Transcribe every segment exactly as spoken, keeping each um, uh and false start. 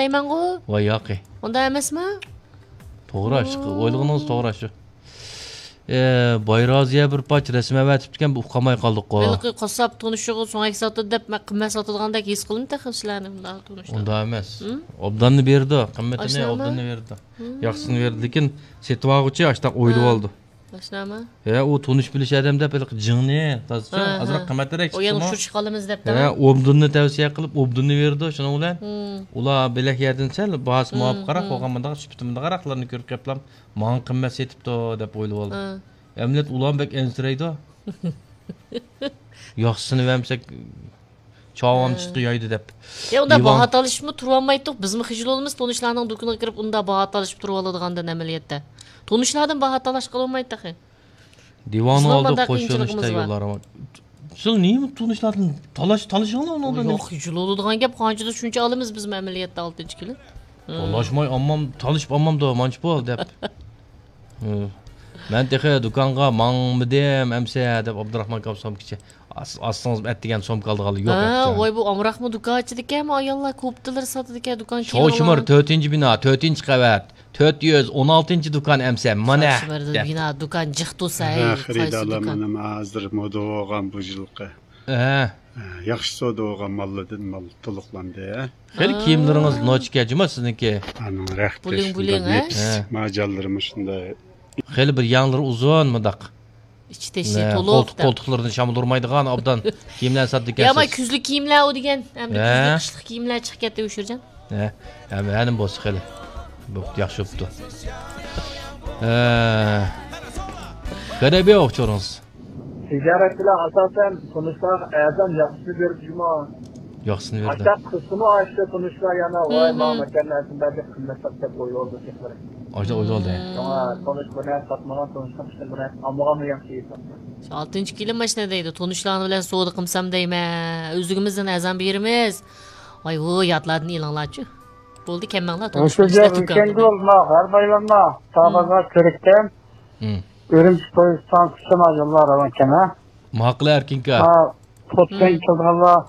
دەيمەنغۇ. ۋاي ياقى. ئۇنداق ئەمەسمۇ؟ توغرا، شۇ، ئويلىغىنىڭىز توغرا شۇ. ئە، بايرازىيە بىر پارچە رەسىم ئەۋەتىپتىكەن، بىز ئۇقالماي قالدۇققۇ. ھېلىقى قاسساپ تونۇشىغا سۆڭەك ساتىدۇ دەپ، مەن قىممەت ساتىدىغاندەك ھېس قىلدىم تېخى سىلەرنى بۇنداق تونۇشتا. ئۇنداق ئەمەس. ھىم؟ ئوبداننى بېرىدۇ، قىممىتىنى ئاشۇنداقمۇ؟ ئوبداننى بېرىدۇ. ھىم. ياخشىسىنى بېرىدۇ، لېكىن سېتىۋالغۇچى ئاشتاق ئويلىۋالىدۇ. ھا. ئاشۇنداقمۇ؟ ھە، ئۇ تونۇش بىلىش ئادەم دەپ ھېلىقى جىڭنى، تازىچە، ھا، ئازراق ھا. قىممەترەك ئۇ يەنە چىقسىمۇ. ئۇچۇر چىقالىمىز دەپ ھە، دەپ. ئوبداننى تەۋسىيە قىلىپ، ئوبداننى بېرىدۇ، شۇنىڭ بىلەن ھىم. ئۇلار بۆلەك يەردىن سەل باھاسى ھىم، مۇۋاپىقراق ھىم. بولغان مۇنداق سۈپىتى مۇنداقراقلارنى كۆرۈپ قېپلام، ماڭا قىممەت سېتىپتۇ دەپ ئويلىۋالدى. ھا. ئەمەلىيەتتە ئۇلار بەك ئەنسىرەيدۇ. ياخشىسىنى بەرمىسەك، چاۋام ھە. چىتقا يايدى دەپ. يا، ئۇنداق دىۋان باھا تالىشىپمۇ تۇرۇۋالمايتتۇق. بىزمۇ خىجىل بولىمىز، تونۇشلارنىڭ دۇكىنىغا كىرىپ ئۇنداق باھا تالىشىپ تۇرۇۋالىدىغاندىن ئەمەلىيەتتە. تونۇشلاردىن باھا تالاشقىلى بولمايدۇ تېخى. دىۋاننىڭ بىزنىڭ ئالدىدا مۇنداق قوشۇلۇش قىيىنچىلىقىمىز بار. تەييارلار. سىز نېمە تونۇشلاردىن تالاش، تالىشىڭلار ئۇنىڭدىن. ياق، خىجىل بولىدىغان گەپ، قانچىدا شۇنچە ئالىمىز بىزمۇ ئەمەلىيەتتە ئالتىنچى كىلىم. ھىم. تالاشماي ئالمام، تالىشىپ ئالمامدۇ، مانچە پۇل دەپ. ھىم. مەن تېخى دۇكانغا ماڭمىدىم ئەمسە دەپ ئابدۇراخمان كاپسام كىچى. ئاس-، ئاستىڭىز ئەتىگەن سومكا ئالىدىغانلار يوق ھە، ئەمسە. ۋاي، بۇ ئامراقمۇ دۇكان ئىچىدىكەنمۇ، ئاياللار كوپتىلىرى ساتىدىكەن، دۇكان كىيىم شوشىمۇر ئالغان. تۆتىنچى بىنا، تۆتىنچى قەۋەت، تۆت يۈز ئون ئالتىنچى دۇكان ئەمسە، مانا، شوشىمۇر دەپ. بىنا، دۇكان جىق تۇرسا، ھە، ھەي، قايسى خېرىدارلار دۇكان؟ مانا ھازىر مودا بولغان بۇ يىلقى. ھە. ھە، ياخشى سودا بولغان ماللاردىن مال تولۇقلاندى، ھە. خېلى كىيىملىرىڭىز نوچىكەن جۇما سىزنىڭكى. ئانىڭ رەختى بۇلۇڭ، شۇنداق بۇلۇڭ، ھە؟ نېپىز، ھە. ماجانلىرىمۇ شۇنداق. خېلى بىر يەڭلىرى ئۇزۇن مۇنداق. ئىچى تېشى نە، تولۇق قولتۇق، دەپ. قولتۇقلىرىنى شامال ئۇرمايدىغان ئوبدان كىيىملەر ساتىدىكەنسىز. يا، ما كۈزلۈك كىيىملەر ئۇ دېگەن. ئەمدى ھە. كۈزلۈك، قىشلىق كىيىملەر چىقىپ كەتتى ئۇ شۇرجان. ھە، ھەم، ھەنىم بولسا خېلى. بوپتۇ، ياخشى بوپتۇ. ھە. غەرەبىيە ئوخشىدىڭىز. تىجارەت بىلەن ئاساسەن تونۇشلارغا ئەرزان ياخشىسىنى بېرىدۇ جۇمۇ. ياخشىسىنى بېرىدۇ. ئاشتاق قىلسىمۇ ئاشتى تونۇشلار يەنە، ۋاي، ماڭا مەكەن نەرسىنى بەر دەپ قىممەت سات دەپ ئويلىۋالىدۇ شەخسلەر. ئاشۇنداق ئويلىۋالدى. شۇڭا تونۇش بىر نەرسە ساتمىغان، تونۇشنىڭ ئىشىنى بىر نەرسە ئالمىغانمۇ ياخشى ھېسابتا. شۇ ئالتىنچى كىلىم ماشىنا دەيدۇ، تونۇشلار بىلەن سودا قىلسام دەيمەن، ئۆزلۈكىمىزدىن ئەرزان بېرىمىز. ۋاي، ھۇ، ياتلاردىن ئېلىڭلارچۇ. بولدى، كەلمەڭلار، تونۇش بىلىشلەر تۈركەمدە. ھەر بايرامدا تاغازغا كىرىككەن. ئۈرۈمچى پويىز ئىستانسىسىغا يوللار راۋانكەن، ھە؟ ماقۇل ئەركىنكا. ھە، پوتسەن كېلىدىغانلار،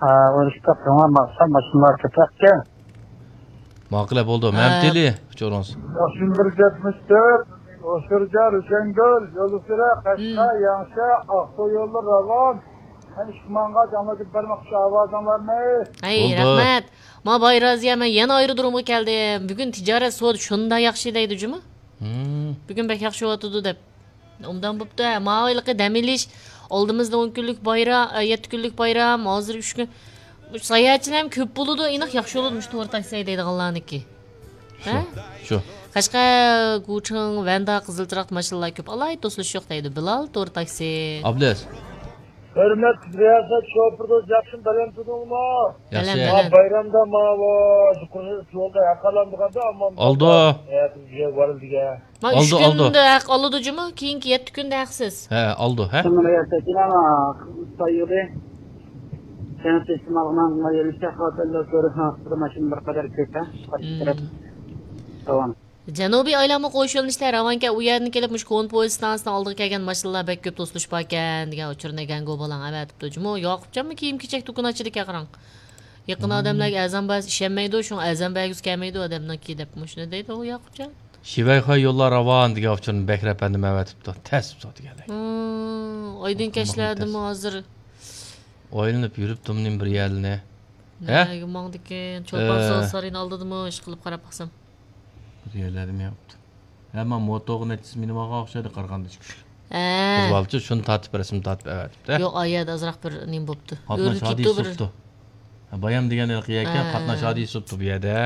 ھە، ئۇرۇشقا قىلما ماقسا ماشىنىلار كۆپەككەن. ماقۇل بولدى. ھە. مەمتىلى ئۇچۇرىڭىز. ياخشى بىر يەتمىش تۆت، ئوشۇرجا، رۇشەنگۈل، يولسۈرە، قەشقەر، ياڭشا، ئاقسۇ يوللىرى راۋان. مەن ئىشقا ماڭغاچ ئاڭلىتىپ بەرمەكچى ئاۋازىڭلارنى. ھەي، بولدى. رەھمەت. ما بايرازىيە، مەن يەنە ئايرودرومغا كەلدىم. بۈگۈن تىجارەت سودا شۇنداق ياخشى دەيدۇ جۇمۇ. بۈگۈن بەك ياخشى بولۇۋاتىدۇ دەپ. ئوبدان بوپتۇ، ھە، ماۋۇ ھېلىقى دەم ئېلىش، ئالدىمىزدا ئون كۈنلۈك بايرام، ئە، يەتتە كۈنلۈك بايرام، ھازىر ئۈچ كۈن. مۇشۇ ساياھەتچىلەرمۇ كۆپ بولىدۇ، ئېنىق ياخشى بولىدۇ مۇشۇ تور تاكسى ھەيدەيدىغانلارنىڭكى. ھە؟ شۇ. قەشقەر، گۇچىڭ، ۋەندا، قىزىل چىراغ ماشىنىلار كۆپ. ئالاھىدە توسۇلۇش يوق دەيدۇ. بىلال، تور تاكسى. ئابلەز. ھۆرمەتلىك رىياسەت شوپۇر دوست، ياخشىمۇ، بەلەن تۇردۇڭمۇ؟ ياخشى. بەلەن، ھە، بەلەن. بايرامدا ماۋۇ يۇقىرى يولدا ھەق ئالامدىغاندا ئامما ئالدى. ھە، بىزگە بارىدىغان. ما ئۈچ كۈندە ھەق ئالىدۇ جۇمۇ، كېيىنكى يەتتە كۈندە ھەقسىز. ھە، ئالىدۇ، ھە. شۇڭا رىياسەتچىلەر سايىغى. سەنئەت ئىجتىمائىي ماشىنا بىر قەدەر كۆپ، ھە. قايسى تەرەپ؟ داۋام. جەنۇبىي ئايلانما قوش يۆنىلىشلەر راۋانكەن، ئۇ يەردىن كېلىپ مۇشۇ كونپوي ئىستانسىسىنىڭ ئالدىغا كەلگەن ماشىنىلار بەك كۆپ توسۇلۇش باركەن دېگەن ئۇچۇرنى گەنگۇ بالاڭ ئەۋەتىپتۇ جۇمۇ. ياقۇپجانمۇ كىيىم-كېچەك دۇكىنى ئاچىدىكەن قاراڭ. يېقىن ئادەملەرگە ئەرزان بەرسە ئىشەنمەيدۇ، شۇڭا ئەرزان بەرگۈسى كەلمەيدۇ ئادەمنىڭكى دەپ مۇشۇنى دەيدۇ ئۇ ياقۇپجان. شىۋەيخۇەي يوللار راۋان دېگەن ئۇچۇرنى بەكرى ئەپەندىم ئەۋەتىپتۇ. تەس بۇ دېگەنلەر. ھىم، ئايدىڭ كەچلەردىمۇ ھازىر. ئايلىنىپ يۈرۈپتۇمنى بىر يەرلىنى. ھە؟ نەگە ماڭدىكىن؟ چولپان ئە. ساز سارىيىنى ئالدىدىمۇ ئىشقىلىپ قاراپ باقسام. بىر يەرلەردە مېڭىپتۇ. ھە، مانا موتوغا نەچچىسى مىنىۋالغان ئوخشايدۇ قارىغاندا ئىككى ئۈچ. ھە. بىر بالىچە شۇنى تارتىپ، رەسىم تارتىپ ئەۋەتىپتۇ. يوق، ئا يەردە ئازراق بىر نېمە بوپتۇ. قاتناش ئۆرۈلۈپ كېتىپتۇ ھادىسىسى بىر. بوپتۇ. ھە، بايام دېگەن ھېلىقى يەكەن ھە. قاتناش ھادىسىسى بوپتۇ بۇ يەردە.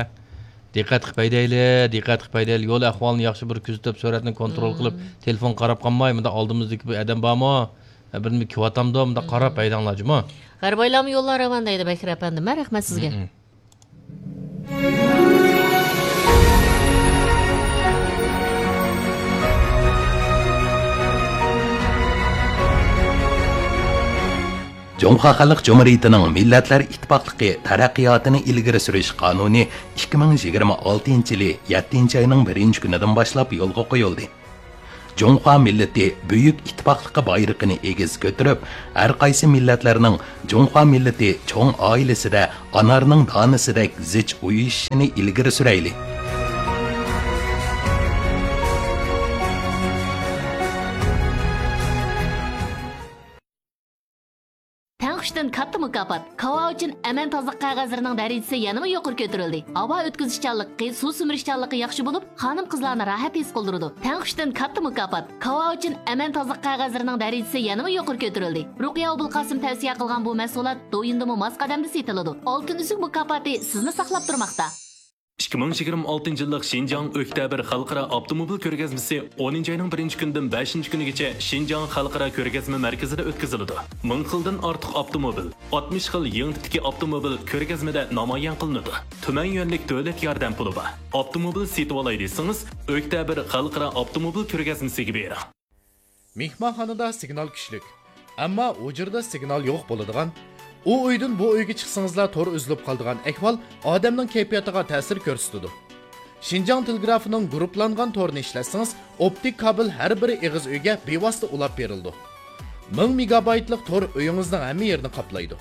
دىققەت قىلىپ ھەيدەيلى، دىققەت قىلىپ ھەيدەيلى. يول ئەھۋالىنى ياخشى بىر كۆزىتىپ، سۈرئەتنى كونترول قىلىپ، تېلېفونغا قاراپ قالماي، مۇنداق ئالدىمىزدىكى بۇ ئادەم بارمۇ؟ ھە، بىر نېمە كېلىۋاتامدۇ؟ مۇنداق قاراپ ھەيدەڭلار جۇمۇ. غەربىي ئايلانما يوللار راۋان دەيدۇ بەكرى ئەپەندىم. ھە، رەھمەت سىزگە. جۇڭخۇا خەلق جۇمھۇرىيىتىنىڭ مىللەتلەر ئىتتىپاقلىقى تەرەققىياتىنى ئىلگىرى سۈرۈش قانۇنى ئىككى مىڭ يىگىرمە ئالتىنچى يىلى يەتتىنچى ئاينىڭ بىرىنچى كۈنىدىن باشلاپ يولغا قويۇلدى. جۇڭخۇا مىللىتى بۈيۈك ئىتتىپاقلىقى بايرىقىنى ئېگىز كۆتۈرۈپ، ھەر قايسى مىللەتلەرنىڭ جۇڭخۇا مىللىتى چوڭ ئائىلىسىدە ئانارنىڭ دانىسىدەك زىچ ئۇيۇشۇشىنى ئىلگىرى سۈرەيلى. تەڭ ئۈچتىن كاتتا مۇكاپات. كاۋاۋىچىن ئەمەن تازىلىق قەغەزلىرىنىڭ دەرىجىسى يەنىمۇ يۇقىرى كۆتۈرۈلدى. ھاۋا ئۆتكۈزۈشچانلىقى، سۇ سۈمۈرۈشچانلىقى ياخشى بولۇپ، خانىم-قىزلارنى راھەت ھېس قىلدۇرىدۇ. تەڭ ئۈچتىن كاتتا مۇكاپات. كاۋاۋىچىن ئەمەن تازىلىق قەغەزلىرىنىڭ دەرىجىسى يەنىمۇ يۇقىرى كۆتۈرۈلدى. رۇقىيە ئوبۇلقاسىم تەۋسىيە قىلغان بۇ مەھسۇلات دويىندىمۇ ماس قەدەمدە سېتىلىدۇ. ئالتۇن ئۈزۈك مۇكاپاتى سىزنى ساقلاپ تۇرماقتا. ئىككى مىڭ يىگىرمە ئالتىنچى يىللىق شىنجاڭ ئۆكتەبىر خەلقئارا ئاپتوموبىل كۆرگەزمىسى ئونىنچى ئاينىڭ بىرىنچى كۈنىدىن بەشىنچى كۈنىگىچە شىنجاڭ خەلقئارا كۆرگەزمە مەركىزىدە ئۆتكۈزۈلىدۇ. مىڭ خىلدىن ئارتۇق ئاپتوموبىل، ئاتمىش خىل يېڭى تىپتىكى ئاپتوموبىل كۆرگەزمىدە نامايان قىلىنىدۇ. تۈمەن يۈەنلىك دۆلەت ياردەم پۇلى بار. ئاپتوموبىل سېتىۋالاي دېسىڭىز، ئۆكتەبىر خەلقئارا ئاپتوموبىل كۆرگەزمىسىگە بېرىڭ. مېھمانخانىدا سىگنال كۈچلۈك، ئەمما ھۇجرىدا سىگنال يوق بولىدىغان، ئۇ ئۆيدىن بۇ ئۆيگە چىقسىڭىزلا تور ئۈزۈلۈپ قالىدىغان ئەھۋال ئادەمنىڭ كەيپىياتىغا تەسىر كۆرسىتىدۇ. شىنجاڭ تېلېگرافىنىڭ گۇرۇپپىلانغان تورىنى ئىشلەتسىڭىز، ئوپتىك كابېل ھەر بىر ئېغىز ئۆيگە بىۋاسىتە ئۇلاپ بېرىلىدۇ. مىڭ مېگابايتلىق تور ئۆيىڭىزنىڭ ھەممە يېرىنى قاپلايدۇ.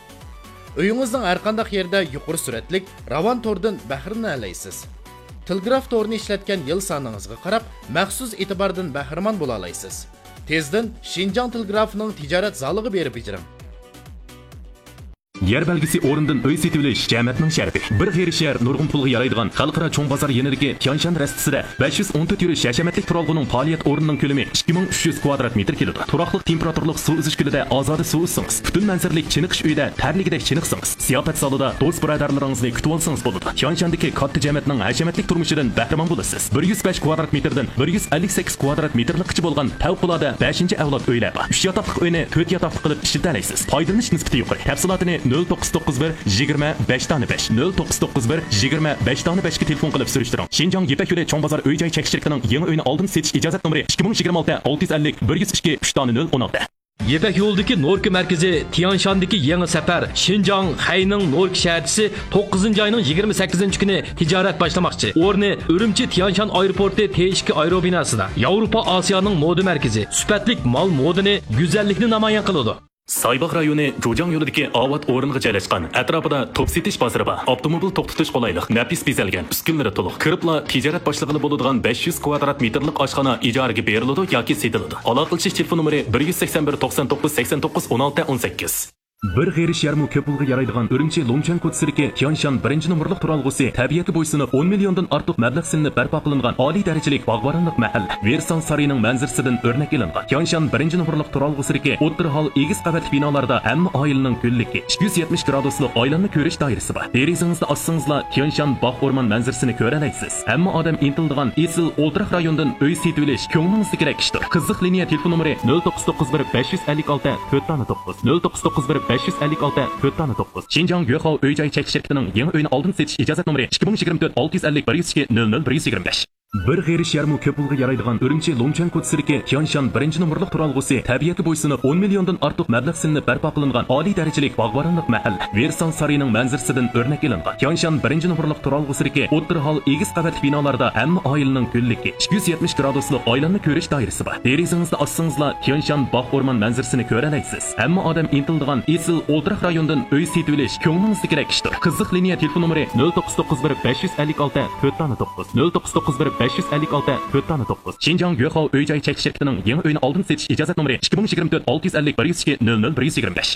ئۆيىڭىزنىڭ ھەرقانداق يېرىدە يۇقىرى سۈرئەتلىك، راۋان توردىن بەھرىلىنەلەيسىز. تېلېگراف تورىنى ئىشلەتكەن يىل سانىڭىزغا قاراپ، مەخسۇس ئېتىباردىن بەھرىمەن بولالايسىز. تېزدىن شىنجاڭ تېلېگرافىنىڭ تىجارەت زالىغا بېرىپ بېجىرىڭ. يەر بەلگىسى ئورنىدىن ئۆي سېتىۋېلىش جەمەتنىڭ شەرىپى. بىر غېرىب شەھەر نۇرغۇن پۇلغا يارايدىغان خەلقئارا چوڭ بازار يېنىدىكى تيانشان رەستىسىدە بەش يۈز ئون تۆت يۈرۈش ھەشەمەتلىك تۇرالغۇنىڭ پائالىيەت ئورنىنىڭ كۆلىمى ئىككى مىڭ ئۈچ يۈز كۋادرات مېتىر كېلىدۇ. تۇراقلىق تېمپېراتۇرىلىق سۇ ئۈزۈش كۆلىدە ئازادە سۇ ئۈزسىڭىز، پۈتۈن مەنزىرىلىك چېنىقىش ئۆيىدە تەرلىگۈدەك چېنىقسىڭىز، زىياپەت زالىدا دوست بۇرادەرلىرىڭىزنى كۈتۈۋالسىڭىز بولىدۇ. تيانشاندىكى كاتتا جەمەتنىڭ ھەشەمەتلىك تۇرمۇشىدىن بەھرىمەن بولىسىز. بىر يۈز بەش كۋادرات مېتىردىن بىر يۈز ئەللىك سەككىز كۋادرات مېتىرلىكقىچە بولغان پەۋقۇلئاددە بەشىنچى ئەۋلاد ئۆيلەر بار. ئۈچ ياتاقلىق ئۆينى تۆت ياتاقلىق قىلىپ ئىشلىتەلەيسىز. پايدىلىنىش نىسبىتى يۇقىرى. تەپسىلاتىنى نۆل توققۇز توققۇز بىر يىگىرمە بەش دانە بەش، نۆل توققۇز توققۇز بىر يىگىرمە بەش دانە بەشكە تېلېفون قىلىپ سۈرۈشتۈرۈڭ. شىنجاڭ يىپەك يولى چوڭ بازار ئۆي جاي چەكلىك شىركىتىنىڭ يېڭى ئۆينى ئالدىن سېتىش ئىجازەت نومۇرى ئىككى مىڭ يىگىرمە ئالتە ئالتە يۈز ئەللىك بىر يۈز ئىككى ئۈچ دانە نۆل ئون ئالتە. يىپەك يولىدىكى نوركا مەركىزى تيانشاندىكى يېڭى سەپەر شىنجاڭ خەينىڭ نوركا شەھەرچىسى توققۇزىنچى ئاينىڭ يىگىرمە سەككىزىنچى كۈنى تىجارەت باشلىماقچى. ئورنى ئۈرۈمچى تيانشان ئايروپورتى تې ئىككى ئايروبىناسىدا، ياۋروپا ئاسىيانىڭ مودا مەركىزى. سۈپەتلىك مال مودىنى، گۈزەللىكنى نامايان قىلىدۇ. سايباغ رايونى جۇجاڭ يولىدىكى ئاۋات ئورنىغا جايلاشقان، ئەتراپىدا توپ سېتىش بازىرى بار. ئاپتوموبىل توختىتىش قولايلىق، نەپىس بېزەلگەن، ئۈسكۈنىلىرى تولۇق. كىرىپلا تىجارەت باشلىغىلى بولىدىغان بەش يۈز كۋادرات مېتىرلىق ئاشخانا ئىجارىگە بېرىلىدۇ ياكى سېتىلىدۇ. ئالاقىلىشىش تېلېفون نومۇرى بىر يۈز سەكسەن بىر، توقسان توققۇز، سەكسەن توققۇز، ئون ئالتە، ئون سەككىز. بىر غېرىب شەھەرمۇ كۆپ پۇلغا يارايدىغان ئۈرۈمچى لۇڭچۈەن كوچىسىدىكى تيانشان بىرىنچى نومۇرلۇق تۇرالغۇسى تەبىئەتكە بويسۇنۇپ، ئون مىليوندىن ئارتۇق مەبلەغ سېلىنىپ بەرپا قىلىنغان ئالىي دەرىجىلىك باغۋەنلىك مەھەللە. ۋېرسال سارىيىنىڭ مەنزىرىسىدىن ئۆرنەك ئېلىنغان تيانشان بىرىنچى نومۇرلۇق تۇرالغۇسىدىكى ئوتتۇرا ھال ئېگىز قەۋەتلىك بىنالاردا ھەممە ئائىلىنىڭ گۈللۈكى، ئىككى يۈز يەتمىش گرادۇسلۇق ئايلانما كۆرۈش دائىرىسى بار. دېرىزىڭىزنى ئاچسىڭىزلا تيانشان باغ ئورمان مەنزىرىسىنى كۆرەلەيسىز. ھەممە ئادەم ئىنتىلىدىغان ئېسىل ئولتۇراق رايوندىن ئۆي سېتىۋېلىش كۆڭلىڭىزدىكىدەك ئىشتۇر. قىزىق لىنىيە تېلېفون نومۇرى نۆل توققۇز توققۇز بىر، بەش يۈز ئەللىك ئالتە، تۆت دانە توققۇز، نۆل توققۇز توققۇز بىر، بەش يۈز ئەللىك ئالتە، تۆت دانە توققۇز. شىنجاڭ يۆخاۋ ئۆي جاي چەكلىك شىركىتىنىڭ يېڭى ئۆينى ئالدىن سېتىش ئىجازەت نومۇرى ئىككى مىڭ يىگىرمە تۆت، ئالتە يۈز ئەللىك، بىر يۈز ئىككى، نۆل نۆل، بىر يۈز يىگىرمە بەش. بىر غېرىب شەھەرمۇ كۆپ پۇلغا يارايدىغان ئۈرۈمچى لۇڭچۈەن كوچىسىدىكى تيانشان بىرىنچى نومۇرلۇق تۇرالغۇسى تەبىئەتكە بويسۇنۇپ، ئون مىليوندىن ئارتۇق مەبلەغ سېلىنىپ بەرپا قىلىنغان ئالىي دەرىجىلىك باغۋەنلىك مەھەللە. ۋېرسال سارىيىنىڭ مەنزىرىسىدىن ئۆرنەك ئېلىنغان تيانشان بىرىنچى نومۇرلۇق تۇرالغۇسىدىكى ئوتتۇرا ھال ئېگىز قەۋەتلىك بىنالاردا ھەممە ئائىلىنىڭ گۈللۈكى، ئىككى يۈز يەتمىش گرادۇسلۇق ئايلانما كۆرۈش دائىرىسى بار. دېرىزىڭىزنى ئاچسىڭىزلا تيانشان باغ ئورمان مەنزىرىسىنى كۆرەلەيسىز. ھەممە ئادەم ئىنتىلىدىغان ئېسىل ئولتۇراق رايوندىن ئۆي سېتىۋېلىش كۆڭلىڭىزدىكىدەك ئىشتۇر. قىزىق لىنىيە تېلېفون نومۇرى نۆل توققۇز توققۇز بىر، بەش يۈز ئەللىك ئالتە، تۆت دانە توققۇز، نۆل توققۇز توققۇز بىر، بەش يۈز ئەللىك ئالتە، تۆت دانە توققۇز. شىنجاڭ يۆخاۋ ئۆي جاي چەكلىك شىركىتىنىڭ يېڭى ئۆينى ئالدىن سېتىش ئىجازەت نومۇرى ئىككى مىڭ يىگىرمە تۆت، ئالتە يۈز ئەللىك، بىر يۈز ئىككى، نۆل نۆل، بىر يۈز يىگىرمە بەش.